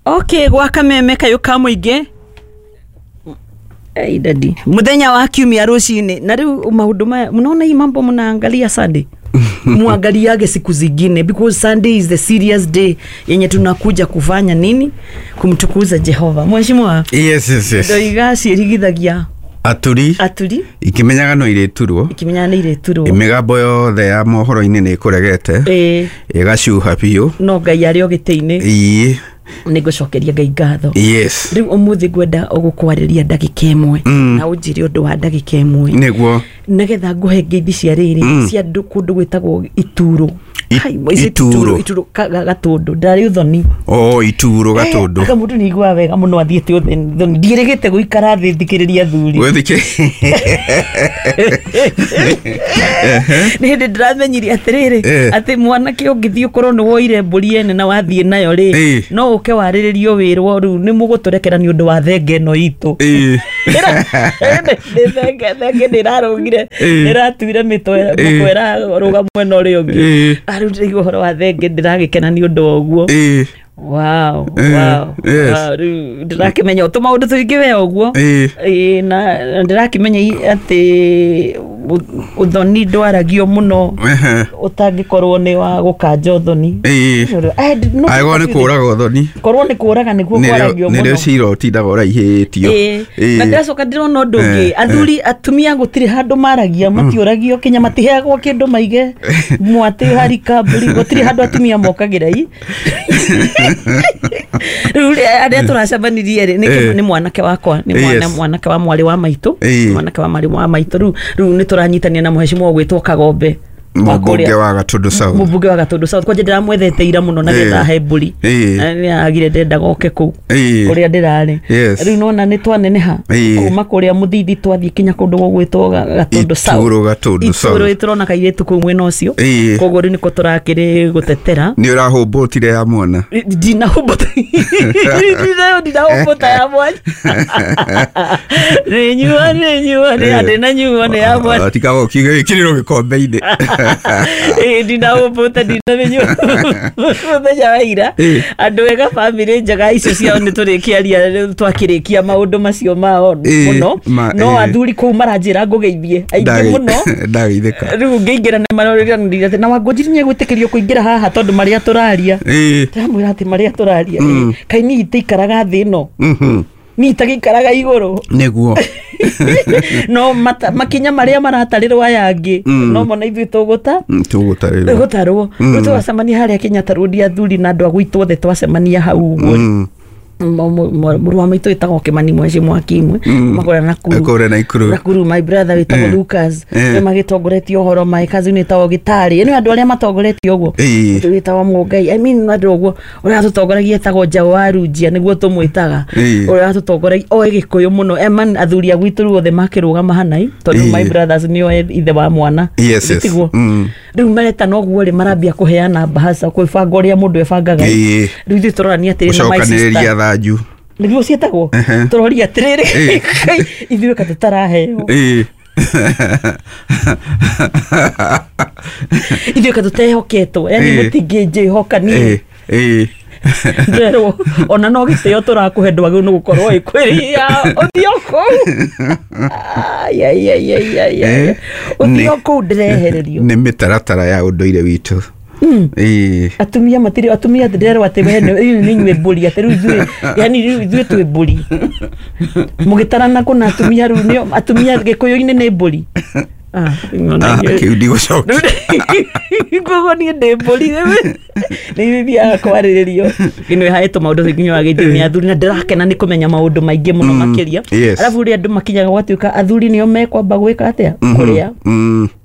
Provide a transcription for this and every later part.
Okay, gwa kameme kayũ ka mũingĩ. Hey, daddy. Muthenya wa kiumia rũcinĩ na rĩu maũndũ maya mnaona hii mambo mnaangalia Sunday, muangaliage siku zingine, because Sunday is the serious day yenye tunakuja kufanya nini? Kumtukuza Jehova. Mheshimiwa. Yes. Ndoiga ciĩrigithagia aturi aturi ikimenyaga no irĩturwo, ikimenyaga nĩ irĩturwo. Mĩgambo yothe ya mohoro-inĩ nĩ ĩkũregete, ĩgacuha biũ. No Ngai arĩ o gĩtĩ-inĩ. Ĩĩ. Nĩ ngũcokeria Ngai ngatho. Yes. Rĩu ũmũthĩ ngwenda ũgũkwarĩria ndagĩka ĩmwe na ũnjĩre ũndũ wa ndagĩka ĩmwe, Nĩguo. nĩgetha ngũhe ngeithi cia rĩrĩ cia andũ kũndũ gwĩtagwo Ituro. Hai, is it Ituro? Ituro Gatũndũ ndarĩ ũthoni. O Ituro Gatũndũ. Aka mũndũ nĩ aiguaga wega mũno athiĩte ũthoni. Ndiĩrĩgĩte gũikara thĩ thikĩrĩria athuri. Gwĩthikĩ. Nĩ hĩndĩ ndĩramenyire atĩrĩrĩ, atĩ mwanake ũngĩthiĩ ũkorwo nĩ woire mbũri ene na wathiĩ nayo rĩ, no ũke warĩrĩrio wĩrwo rĩu nĩ mũgũtũrekera nĩ ũndũ wa thenge ĩno itũ. Nĩ thenge nĩ ĩrarũgire, nĩ ĩratuire mĩtwe, mũkwa ĩrarũga mwena ũrĩa ũngĩ. Rĩu ndĩraigua ũhoro wa thenge ndĩragĩkena nĩ ũndũ wa ũguo. Wow, wow, wow, rĩu ndĩrakĩmenya tũmaũndũ tũingĩ we ũguo. Ĩĩ, na ndĩrakĩmenya atĩ ũthoni ndwaragio mũno ũtangĩkorwo nĩ wa gũkanja ũthoni. No, Angĩkorwo nĩ kũraga ũthoni. Korwo nĩ kũraga nĩguo kwaragio Nĩrĩo mũno. cira ũtindaga ũraihĩtio. Na ndĩracoka ndĩrona ũndũ ũngĩ, athuri atumia gũtirĩ handũ maragia, matiũragio kinya matiheagwo kĩndũ maige mwatĩ harika mbũri, gũtirĩ handũ atumia mokagĩra i. Rĩu arĩa tũracemanirie rĩ, nĩ mwanake wakwa, nĩ mwanake wa mwarĩ wa maitũ, mwanake wa mwarĩ wa maitũ. Rĩu nĩ tũranyitania na mũhecimwa ũgwĩtwo Kagombe wa Mũmbunge kũrĩa- wa Gatũndũ South. Mũmbunge wa Gatũndũ South. Kwanja ndĩramwethete ira mũno na getha he mbũri. Na nĩ agire ndenda oke kũu kũrĩa ndĩrarĩ. Rĩu nona nĩ twaneneha kuma kũrĩa mũthithi twathiĩ kinya kũndũ gũgwĩtwo Gatũndũ South. Ituro Gatũndũ South. Ituro tũrona kairĩtu kũu mwena ũcio. Koguo rĩu nĩko tũrakĩrĩ gũtetera. Nĩ ũrahũmbũtire ya mwana. Ndinahũmbũta, ndinahũmbũta ya mwana. Nĩ nyua, nĩ nyua, nĩ ndĩnanyua nĩ ya mwana. Tigaga ũkiuga ĩkĩrĩrwo gĩkombe-inĩ. Ndinahũmbũta, ndinamĩnyua mũthenya wa ira. Andũ ega, bamĩrĩ njega icio ciao nĩ tũrĩkĩaria twakĩrĩkia maũndũ macio mao mũno. No athuri kũu maranjĩra ngũgeithie aingĩ mũno. Ndageithĩka. Rĩu ngĩingĩra nĩ marorĩranĩire atĩ na Wangũnjiri nĩ egwĩtĩkĩrio kũingĩra haha tondũ marĩa tũraria, ndĩramwĩra atĩ marĩa tũraria, kaĩ niĩ itaikaraga thĩ ĩno, niĩ itagĩikaraga igũrũ. Nĩguo. No makinya marĩa maratarĩrwo aya angĩ no mona ithuĩ tũgũta Tũgũtarĩrwo. Gũtarwo. Rĩu twacemania harĩa Kenyatta Road, athuri na andũ a gwitũ othe twacemania hau ũguo, mũrũ wa maitũ wĩtagwo Kĩmani Mweci Mwakimwe makũrĩa Nakuru. Kũrĩa Nakuru. Nakuru, my brother wĩtagwo Lucas nĩ magĩtongoretie ũhoro, my cousin wĩtagwo Gĩtarĩ, nĩ andũ arĩa matongoretie ũguo. Wĩtagwo Mũngai, I mean andũ ũguo. Ũrĩa tũtongoragia etagwo Njaũ wa Runjia, nĩguo tũmwĩtaga. Ũrĩa tũtongoragia oĩ Gĩkũyũ mũno eman. Athuri a gwitũ rĩu othe makĩrũgama hanai tondũ my brothers nĩo ithe wa mwana. Tiguo? Rĩu maretana ũguo rĩ, marambia kũheana mbahaca, kwĩbanga ũrĩa mũndũ ebangaga. Rĩu ithuĩ tũrorania atĩrĩ na my Gũcokanĩrĩria sister thanju. Nĩguo ciĩtagwo. Tũroria atĩrĩrĩ, ithuĩ ka tũtaraheo, ithuĩ ka tũtehoketwo, yani mũtingĩnjĩhoka niĩ? Nderwo ona no gĩtĩo tũrakũhe ndwagĩrĩirwo nĩ gũkorwo ĩkwĩria ũthiĩ o kũu. Ai, ai, ai, ai, ai, ai. Ũthiĩ o kũu ndĩrehererio. Nĩ mĩtaratara ya ũndũire witũ. Atumia matirĩ, atumia ndĩrerwo atĩ we nĩ inyuĩ mbũri, atĩ rĩu ithuĩ, yani rĩu ithuĩ twĩ mbũri mũgĩtarana kũna atumia, rĩu nĩo atumia Gĩkũyũ-inĩ nĩ mbũri. Ah, Ah, kĩu ndigũcokia. Koguo niĩ ndĩ mbũri nĩ thiaga kwarĩrĩrio ĩno ĩhaĩtwo maũndũ nginya wagĩithio nĩ athuri, na ndĩrakena nĩ kũmenya maũndũ maingĩ mũno makĩria. Arabu rĩrĩa andũ makinyaga gwatuĩka athuri nĩo mekwamba gwĩka atĩa, kũrĩa,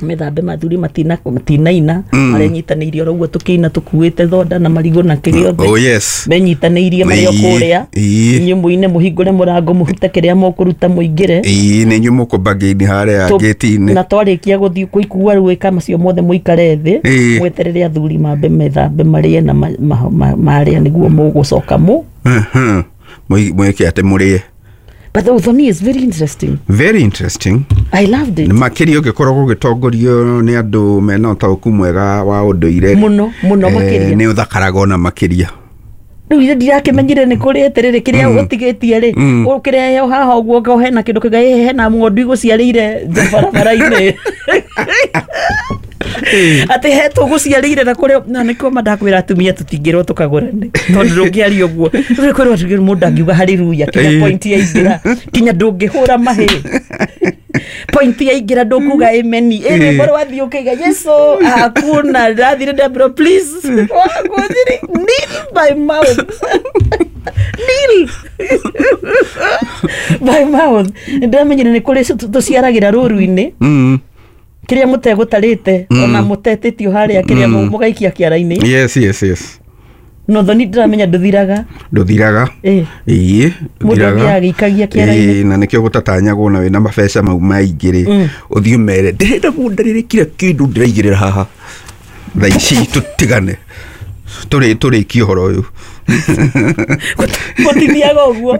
methambe, mathuri matinaina, marenyitanĩirie oro ũguo tũkĩina tũkuĩte thonda na marigũ na kĩrĩa othe. Oh yes. Menyitanĩirie marĩ o kũrĩa. Inyuĩ mũine, mũhingũre mũrango, mũrute kĩrĩa mũkũruta, mũingĩre. Ĩĩ, nĩ inyuĩ mũkũmba ngĩini harĩa ngĩti-inĩ. Na twarĩkia gũthiĩ kũikua rĩu gwĩka macio mothe, mũikare thĩ, mweterere athuri mambe methambe, marĩe, na marĩa nĩguo mũgũcoka mũ Mwĩke atĩ mũrĩe. But the ũthoni is very interesting. Very interesting. I loved it. Makĩria ũngĩkorwo gũgĩtongorio nĩ andũ mena ũtaũku mwega wa ũndũire. Mũno mũno makĩria. Nĩ ũthakaraga ona makĩria. Rĩu ithe ndirakimenyire nĩ kũrĩ atĩrĩrĩ kĩrĩa ũtigĩtie rĩ ũkĩrehe haha ũguo ngo hena kĩndũ kĩnga hena ng'ondu igũciarĩire nja barabara-inĩ. Atĩ he tũgũciarĩire na kũrĩa na nĩkĩo mandakwĩra atumia tũtingĩrwo tũkagũrane tondũ ndũngĩaria ũguo. Rĩu kwĩrwo atĩ mũndũ angiuga haleluya kinya point yaingĩra kinya ndũngĩhũra mahĩ. Point yaingĩra ndũkuga amen. Ĩrĩ wathiĩ ũkaiga Yesu hakuna ndathire ndambĩrwo please wagũthiri kneel by mouth. Kneel by mouth. Ndamenyire nĩ kũrĩ tũciaragĩra rũru-inĩ. Kĩrĩa mũtegũtarĩte ona mũtetĩtio harĩa kĩrĩa mũgaikia kĩara-inĩ. Yes yes yes. No thoni ndĩramenya ndũthiraga. Ndũthiraga. Ĩĩ ndũthiraga. Mũndũ agĩikagia kĩara-inĩ. Ĩĩ na nĩkĩo gũtatanyagwo na wĩna mabeca mau maingĩ rĩ. Ũthiĩ ũmere ndĩrenda mũndarĩre kira kĩndũ ndĩraigĩrĩra haha. Thaa ici tũtigane. Tũrĩkie ũhoro ũyũ. Gũtithiaga ũguo.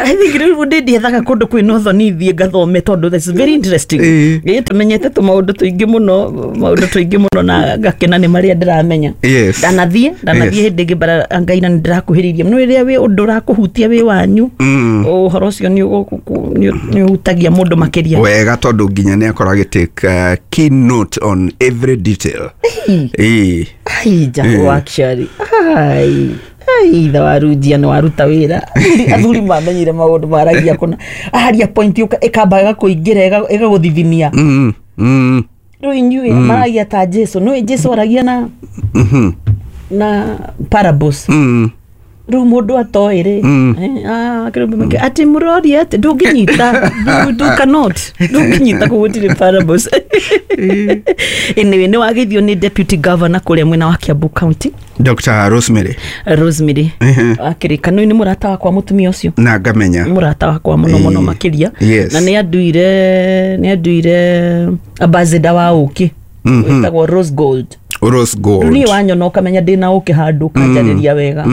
I think rĩu ndĩethaga kũndũ kwĩna ũthoni thiĩ ngathome tondũ that's very interesting. Ĩĩ tũmenyete tũmaũndũ tũingĩ mũno, maũndũ tũingĩ mũno na ngakena nĩ marĩa ndĩramenya. Ndanathiĩ hĩndĩ ĩngĩ bara Ngai na nĩndĩrakuhĩrĩirie mũno rĩrĩa wĩ ũndũ ũrakũhutia wĩ wanyu. Ũhoro ũcio nĩ ũhutagia mũndũ makĩria. Wega tondũ nginya nĩ akorwo agĩtake keynote on every detail. Ĩĩ. Ai Jago actually. Ai. Ai ithe wa Runjia nĩ waruta wĩra. Athuri mamenyire maũndũ maragia kũna. Aharia point ĩkamba ĩgakũingĩra ĩgagũthithinia. Rĩu inyuĩ maragia ta Jesu. Nĩũĩ Jesu aragia na na parables. Rĩu mũndũ atoĩ rĩ. Atĩ mũroria atĩ ndũngĩnyita. You cannot. Ndũngĩnyita kũu gũtirĩ parables. Anyway, nĩ wageithio nĩ deputy governor kũrĩa mwena wa Kiambu County. Dr. Rosemary. Rosemary. Akĩrĩka nĩ mũrata wakwa mũtumia ũcio. Na ngamenya. Mũrata wakwa mũno mũno makĩria. Yes. Na nĩ anduire ambassador wa ũkĩ. Wĩtagwo Rose Gold. Rose Gold. Niĩ wanyona ũkamenya ndĩna ũkĩ handũ ũkanjarĩria wega.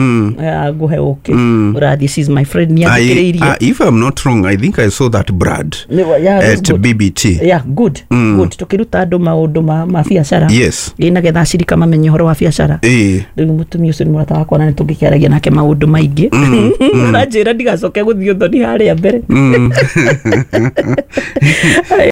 Ngũhe ũkĩ. Ũrathiĩ, she's my friend, nĩ athikĩrĩirie. If I'm not wrong, I think I saw that brand at BBT. Yeah, good. Good. Tũkĩruta andũ maũndũ ma biacara. Yes. Ĩ nagetha acirika mamenye ũhoro wa biacara. Rĩu mũtumia ũcio nĩ mũrata wakwa na nĩ tũngĩkĩaragia nake maũndũ maingĩ. Aranjĩra ndigacoke gũthiĩ ũthoni harĩa mbere.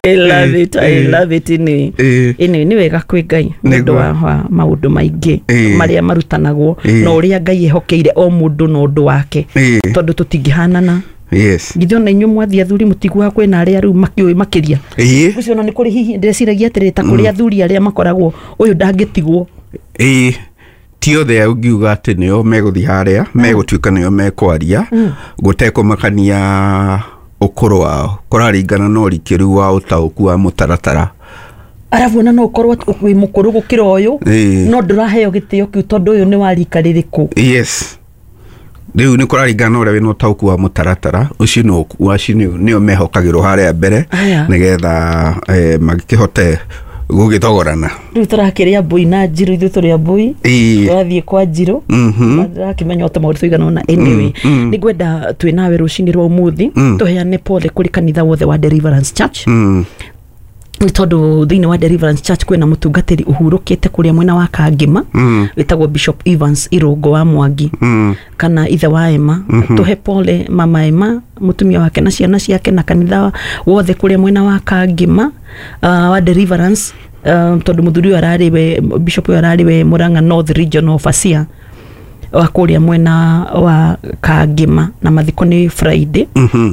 I love it. I love it. Anyway, nĩ wega kwĩ Ngai nĩ ũndũ wa maũndũ maingĩ marĩa marutanagwo na ũrĩa Ngai ehokeire o mũndũ na ũndũ wake tondũ tũtingĩhanana. Yes. Githĩ ona inyuĩ mwathiĩ athuri mũtiguaga kwĩna arĩa rĩu makĩũĩ makĩria. Ũcio ona nĩ kũrĩ hihi ndĩreciragia atĩrĩrĩ ta kũrĩ athuri arĩa makoragwo ũyũ ndangĩtigwo. Ti othe ũngiuga atĩ nĩo megũthiĩ harĩa megũtuĩka nĩo mekwaria gũtekũmakania ũkũrũ wao kũraringana na ũrikĩru wa ũtaũku wa mũtaratara. Arabu ona no ũkorwo wĩ mũkũrũ gũkĩra ũyũ no ndũraheo gĩtĩo kĩu tondũ ũyũ nĩ wa rika rĩrĩkũ. Yes. Rĩu nĩ kũraringana na ũrĩa wĩna ũtaũku wa mũtaratara ũcio nĩo mehokagĩrwo harĩa mbere nĩgetha magĩkĩhote gũgĩthogorana. Rĩu tũrakĩrĩa mbũi na njirũ, ithuĩ tũrĩ mbũi tũrathiĩ kwa njirũ ndĩrakĩmenya o tũmaũndũ tũigana ũna. Anyway, nĩngwenda twĩ nawe rũcinĩ rwa ũmũthĩ tũheane pole kũrĩ kanitha wothe wa Deliverance Church. Nĩ tondũ thĩinĩ wa Deliverance Church kwĩna mũtungatĩri ũhurũkĩte kũrĩa mwena wa Kangĩma wĩtagwo Bishop Evans Irũngũ wa Mwangi kana ithe wa Emma. Tũhe pole mama Emma, mũtumia wake na ciana ciake na kanitha wothe kũrĩa mwena wa Kangĩma wa Deliverance tondũ mũthuri ũyũ ararĩ we Bishop ũyũ ararĩ we Murang'a North Region of Asia wa kũrĩa mwena wa Kangĩma na mathiko nĩ Friday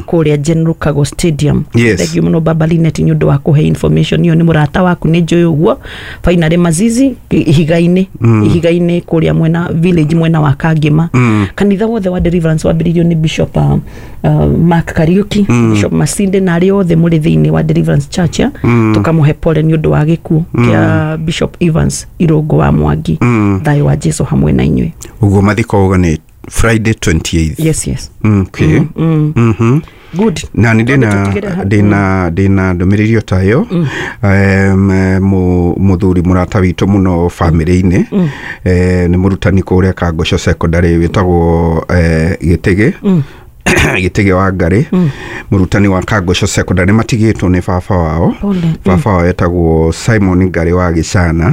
kũrĩa General Kago Stadium. Yes. Thank you mũno Baba Linet nĩ ũndũ wa kũhe information ĩyo. Nĩ mũrata waku nĩ njũĩ ũguo. Finally Mazizi ihiga-inĩ ihiga-inĩ kũrĩa mwena village mwena wa Kangĩma. Kanitha wothe wa Deliverance wambĩrĩirio nĩ Bishop Mark Kariuki, Bishop Masinde na arĩa othe mũrĩ thĩinĩ wa Deliverance Church. Tũkamũhe pole nĩ ũndũ wa gĩkuũ kĩa Bishop Evans Irũngũ wa Mwangi. Thayũ wa Jesu hamwe na inyuĩ. Ũguo mathiko uga nĩ Friday 28th. Yes, yes. Okay. Good. Na nĩ ndĩna ndũmĩrĩri o ta ĩyo. Mũthuri mũrata witũ mũno bamĩrĩ-inĩ nĩ mũrutani kũrĩa Kangũco Secondary wĩtagwo Gĩtĩgĩ. Gĩtĩgĩ wa Ngarĩ, mũrutani wa Kangũco Secondary, matigĩtwo nĩ baba wao. Pole. Baba wao etagwo Simon Ngarĩ wa Gĩcana,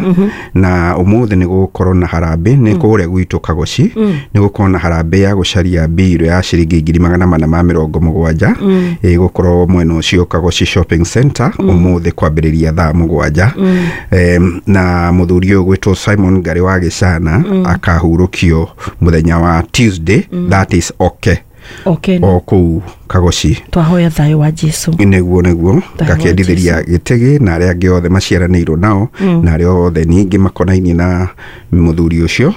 na ũmũthĩ nĩ gũgũkorwo na harambĩ nĩ kũrĩa gwitũ Kagoci, nĩ gũkorwo na harambĩ ya gũcaria mbirũ ya ciringi 470,000, ĩgũkorwo mwena ũcio Kagoci Shopping Center ũmũthĩ kwambĩrĩria thaa 7. Na mũthuri ũyũ gwĩtwo Simon Ngarĩ wa Gĩcana akahurũkio mũthenya wa Tuesday, that is okay. Okay. O kũu Kagoci. Twahoya thayũ wa Jesu. Nĩguo. Thayũ wa Ngakĩendithĩria Gĩtĩgĩ na arĩa angĩ othe maciaranĩirwo nao, na arĩa othe ningĩ makonainie na mũthuri ũcio,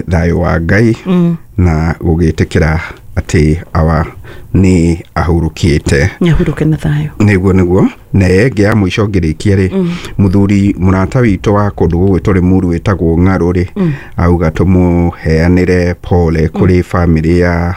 thayũ wa Ngai na gũgĩtĩkĩra atĩ awa nĩ ahurũkĩte. Nĩahurũke na thayũ. Nĩguo. Na ĩngĩ ya mũico ngĩrĩkia rĩ, mũthuri mũrata witũ wa kũndũ gũgwĩtwo Rĩmuru wĩtagwo Ng'arũ rĩ, auga tũmũheanĩre pole kũrĩ bamĩrĩ ya